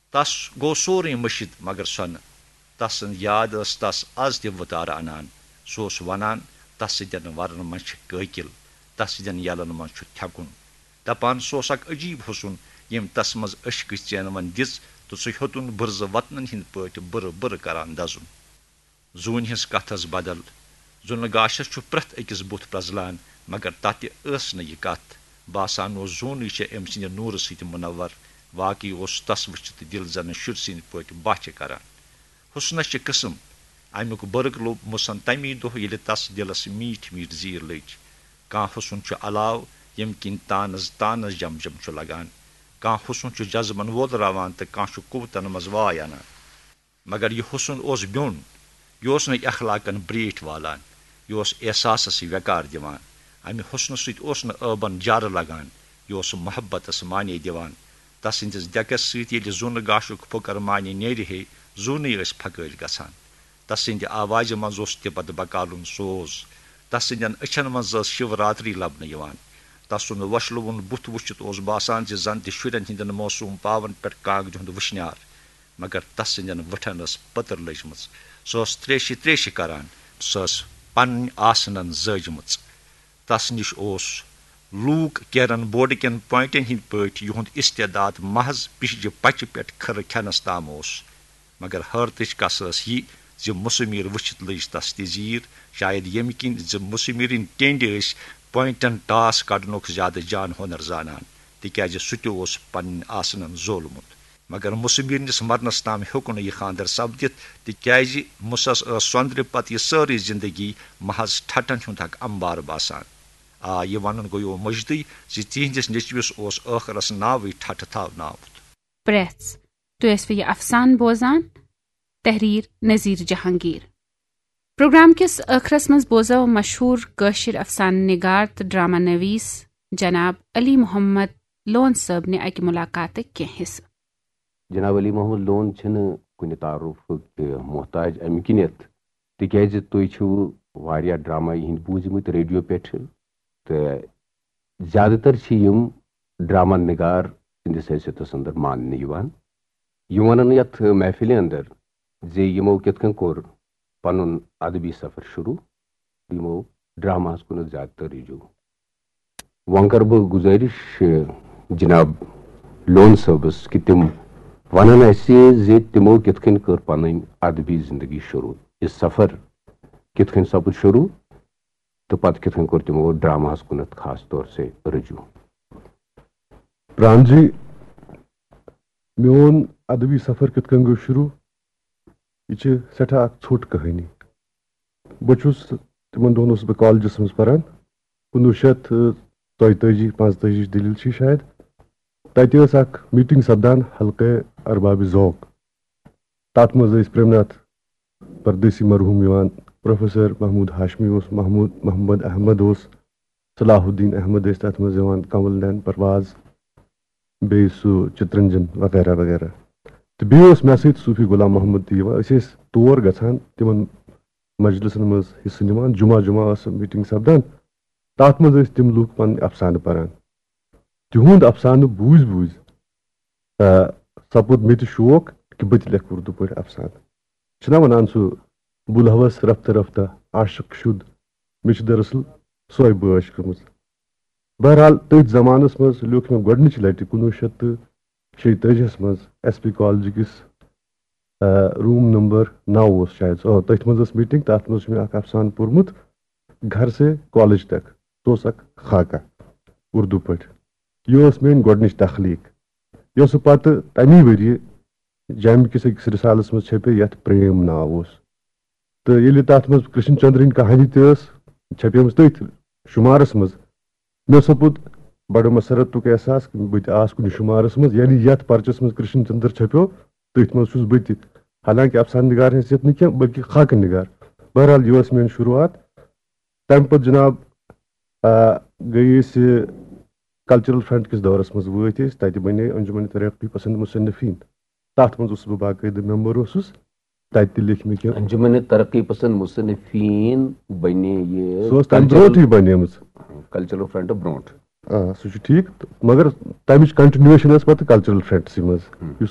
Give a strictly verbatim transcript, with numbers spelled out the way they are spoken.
تس گوٚو سورُے مٔشِتھ مگر سۄنہٕ۔ تس سٕنٛز یاد ٲس تس از تہِ وُتارٕ انان۔ سُہ اوس ونان، تس سٕنٛدٮ۪ن ورن منٛز چھِ کٲکِل، تس سٕنٛدٮ۪ن یلن منٛز چھُ تھٮ۪کُن۔ دپان سُہ اوس اکھ عجیب حُسُن، ییٚمۍ تس منٛز عشقٕچ ژینون دِژ تہٕ سُہ ہیوٚتُن بُرزٕ وطنن ہٕنٛدۍ پٲٹھۍ بُرٕ بُرٕ کران دزُن۔ زوٗنہِ ہٕنٛز کتھ ٲس بدل۔ زوٗنہٕ گاشس چھُ پرٛٮ۪تھ أکِس بُتھ پرٛزلان، مگر تتہِ ٲس نہٕ یہِ کتھ۔ باسان اوس زوٗنٕے چھےٚ أمۍ سٕنٛدِ نوٗرٕ سۭتۍ منور۔ واقعی اوس تس وٕچھِتھ دِل زنہٕ شُرۍ سٕنٛدۍ پٲٹھۍ باچھِ کران۔ حُسنس چھِ قٕسم۔ امیُک برق لوٚب مُسن تمی دۄہ، ییٚلہِ تس دِلس میٖٹھۍ میٖٹھۍ زیٖر لٔج۔ کانٛہہ حُسن چھُ علاو، ییٚمہِ کِنۍ تانس تانس جم جم چھُ لگان۔ کانٛہہ حُسن چھُ جذبن وولراوان تہٕ کانٛہہ چھُ قوتن منٛز واے انان۔ مگر یہِ حُسن اوس بیوٚن۔ یہِ اوس نہٕ اخلاقن برٛیٹھۍ والان۔ یہِ اوس احساسس ویقار دِوان۔ امہِ حُسنہٕ سۭتۍ اوس نہٕ ٲبن جارٕ لگان۔ یہِ اوس محبتس معنی دِوان۔ تسٕنٛدِس ڈٮ۪کس سۭتۍ ییٚلہِ زوٗنہٕ گاشُک پھُکر معنی نیرِ ہے، زوٗنٕے ٲسۍ پھکٲرۍ گژھان۔ تسٕنٛدِ آوازِ منٛز اوس تِبت بکالُن سوز۔ تسٕنٛدٮ۪ن أچھن منٛز ٲس شِو راتری لبنہٕ یِوان۔ تسُنٛد وۄشلوُن بُتھ وٕچھِتھ اوس باسان زِ زن تہِ شُرٮ۪ن ہٕنٛدٮ۪ن معصوٗم پاون پٮ۪ٹھ کانٛگرِ ہُنٛد وٕشنیار۔ مگر تس سٕنٛدٮ۪ن وٕٹھن ٲس پٔتٕر لٔجمٕژ۔ سۄ ٲس تریشہِ تریشہِ کران۔ سۄ ٲس پنٕنۍ آسنن زٲجمٕژ۔ تس نِش اوس لوٗک کیرن بورڈٕ کٮ۪ن پوینٹن ہٕنٛدۍ پٲٹھۍ یِہُنٛد استعداد محض پِشجہِ پچہِ پٮ۪ٹھ کھٕرٕ کھٮ۪نس تام اوس۔ مگر حٲرتٕچ کس ٲس یہِ زِ مُسمیر وٕچھِتھ لٔج تس تہِ زیٖر، شاید ییٚمہِ کِنۍ زِ مُسمیرٕنۍ ٹینڈِ ٲسۍ پوینٹن ٹاس کڑنُک زیادٕ جان ہُنر زانان، تِکیازِ سُہ تہِ اوس پنٕنۍ آسنن زولمُت۔ مگر مُسمیرنِس مرنس تام ہیوٚک نہٕ یہِ خانٛدر سپدِتھ، تِکیازِ مُسس ٲس سۄندرِ پتہٕ یہِ سٲرٕے زندگی محض ٹھٹھن ہُنٛد اکھ امبار باسان۔ آ، یہِ ونُن گوٚو مٔجدٕے زِ تِہنٛدِس نیٚچوِس اوس ٲخرس ناوٕے ٹھٹھٕ تھاونہٕ آمُت۔ پرٛٮ۪ژھ۔ تُہۍ ٲسوٕ یہِ افسانہٕ بوزان؟ تحریر نذیر جہانگیر۔ پروگرام کِس ٲخرس منٛز بوزو مشہوٗر کٲشِر افسانہٕ نگار تہٕ ڈرامہ نویس جناب علی محمد لون صٲبنہِ اکہِ ملاقاتٕکۍ کینٛہہ حصہٕ۔ جناب علی محمد لون چھِنہٕ کُنہِ تعارفُک محتاج، امہِ کِنیتھ تِکیازِ تُہۍ چھِو واریاہ ڈرامہ یِہنٛدۍ بوٗزمٕتۍ ریڈیو پٮ۪ٹھٕ، تہٕ زیادٕ تر چھِ یِم ڈرامہ نگار سٕنٛدِس حیثیتس اندر ماننہٕ یِوان۔ یِم ونن یتھ محفلہِ اندر زِ یِمو کِتھ کٔنۍ کوٚر پنُن ادبی سفر شروع، یِمو ڈراماہس کُنتھ زیادٕ تر رجوع۔ وۄنۍ کرٕ بہٕ گُزٲرِش، جناب لون صٲبس، کہِ تِم ونن اسہِ زِ تِمو کِتھ کٔنۍ کٔر پنٕنۍ ادبی زندگی شروع، یہِ سفر کِتھ کٔنۍ سپُد شروع، تہٕ پتہٕ کِتھ کٔنۍ کوٚر تِمو ڈراماہس کُنتھ خاص طور سے رجوع۔ پران جی، میون ادبی سفر کِتھ کٔنۍ گوٚو شروع؟ یہِ چھِ سٮ۪ٹھاہ اکھ ژھوٚٹ کہانی۔ بہٕ چھُس، تِمن دۄہن اوسُس بہٕ کالجس منٛز پران، کُنوُہ شیٚتھ ژۄیتٲجی پانٛژتٲجی دٔلیٖل چھِ شاید۔ تتہِ ٲس اکھ میٖٹنگ سپدان حلقہٕ ارباب ذوق۔ تتھ منٛز ٲسۍ پریم ناتھ پردیسی مرحوٗم یِوان، پروفیسر محمود ہاشمی اوس، محمود محمد احمد اوس، صلاح الدین احمد ٲسۍ تتھ منٛز یِوان، کنول نین پرواز، بیٚیہِ سُہ چترنجن وغیرہ وغیرہ۔ تہٕ بیٚیہِ اوس مےٚ سۭتۍ صوفی غلام محمد تہِ یِوان۔ أسۍ ٲسۍ تور گژھان، تِمن مجلسن منٛز حصہٕ نِوان۔ جمعہ جمعہ ٲس سۄ میٖٹنگ سپدان، تتھ منٛز ٲسۍ تِم لوٗکھ پنٕنۍ افسانہٕ پران۔ تِہُنٛد افسانہٕ بوٗزۍ بوٗزۍ، آ، سپُد مےٚ تہِ شوق کہِ بہٕ تہِ لیکھٕ اردو پٲٹھۍ افسانہٕ۔ چھِنا ونان سُہ بُلہوس رفتہ رفتہ عاشق شُد، مےٚ چھِ دراصل سۄے بٲش گٔمٕژ۔ بہرحال، تٔتھۍ زمانس منٛز لیوٚکھ مےٚ گۄڈٕنِچہِ لٹہِ کُنوُہ شیٚتھ تہٕ شیٚیتٲجیَس منٛز ایس پی کالجہِ کِس، آ، روٗم نمبر نو اوس شاید، آ، تٔتھۍ منٛز ٲس میٖٹنگ، تتھ منٛز چھُ مےٚ اکھ افسانہٕ پوٚرمُت، گھر سے کالج تک۔ سُہ اوس اکھ خاکہ اردو پٲٹھۍ۔ یہِ ٲس میٲنۍ گۄڈٕنِچ تخلیٖق، یۄسہٕ پتہٕ تمی ؤریہِ جامعہ کِس أکِس رسالس منٛز چھپے، یتھ پریم ناو اوس۔ تہٕ ییٚلہِ تتھ منٛز کرشن چندرٕنۍ کہانی تہِ ٲس چھپیمٕژ تٔتھۍ شُمارس منٛز، مےٚ سپُد بڑٕ مسرتُک احساس، بہٕ تہِ آس کُنہِ شُمارس منٛز، یعنی یتھ پرچس منٛز کرشن چندر چھپیو، تٔتھۍ منٛز چھُس بہٕ تہِ۔ حالانکہ افسانہٕ نگار حیثیت نہٕ کینٛہہ، بلکہِ خاکہٕ نگار۔ بہرحال، یہِ ٲس میٲنۍ شروٗعات۔ تمہِ پتہٕ جناب، آ، گٔے أسۍ کلچرل فرنٹ کِس دورس منٛز وٲتۍ أسۍ، تتہِ بنے انجمن ترقی پسند مصنفین۔ تتھ منٛز اوسُس بہٕ باقٲعدٕ ممبر اوسُس، تتہِ تہِ لیکھۍ مےٚ کینٛہہ۔ انجمن ترقی پسند مصنفین بنے یہِ سۄ ٲس تمہِ کلچرل، برونٹھٕے بنیمٕژ۔ کلچرل فرنٹ برونٹھ۔ آ، سُہ چھُ ٹھیٖک، تہٕ مگر تمِچ continuation ٲس پتہٕ کلچرل فرنٹسٕے منٛز، ہم۔ یُس